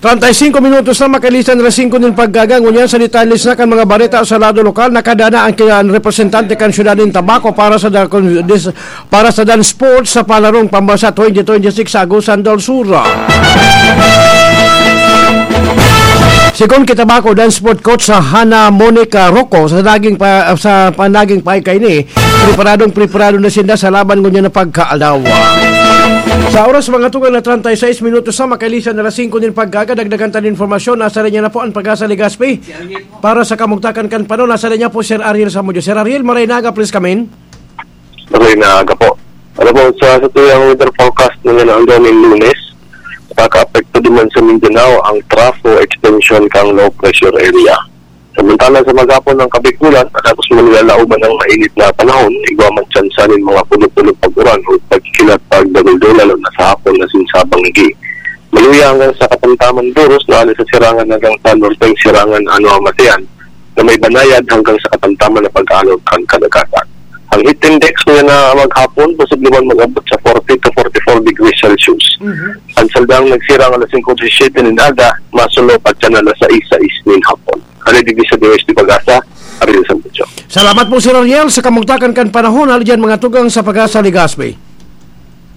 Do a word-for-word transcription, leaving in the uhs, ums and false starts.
Treinta y cinco minutos na makalisan alas singko nin pagkaga. Ngunyan sa detalye na kan mga bareta sa lado lokal, nakadana ang ki-, ang representante kan siyudad nin Tabaco para sa da-, dis-, para sa Dan Sports sa Palarong Pambansa twenty twenty-six sa Agusan del Sur. Sigon ki Tabaco Dan Sport Coach sa Hana Monica Rocco, sa naging pa, sa panaging paikay ni, preparadong preparado na sinda sa laban ngunyan na pagkaalawa. Sa oras, mga tugang, na treinta y seis minutos na makalisan alas singko nin pagkaga. Dagdagan ta nin informasyon. Nasa linya na po ang Pag-asa Legazpi. Para sa kamugtakan kan panahon, nasa linya po Sir Ariel Samudio. Sir Ariel, maray na aga, please come in. Maray na aga po. Ano po, sa, sa tuyang weather forecast na yan ang daming Lunes, nakakaapekto din man sa Mindanao ang trough o extension kang low pressure area. Samantala, sa maghapon ng Kabikulan, tapos manlalauban ng mainit na panahon, igwa man tsansa nin mga pulo-pulo pag-uran o pagkikilat pagdaguldo, lalo na sa hapon na sinsabang igi. Maluya hanggang sa katamtaman duros na sa sirangan hanggang sa norteng sirangan ano ang matian na may banayad hanggang sa katamtaman na pag-alon kan kadagatan. Ang heat index niya na maghapon, posible man mag-abot sa forty to forty-four degrees Celsius. Mhm. Ang saldang nagsirang alas singko disisiyete nin aga, masulo pa siya na alas sais, sais nin hapon. Kaya digdi sa D O S T Pag-asa, Ariel Sambucho. Salamat po, Sir Ariel, sa kamugtakan kan panahon. Hali dyan, mga tugang sa Pag-asa Legazpi.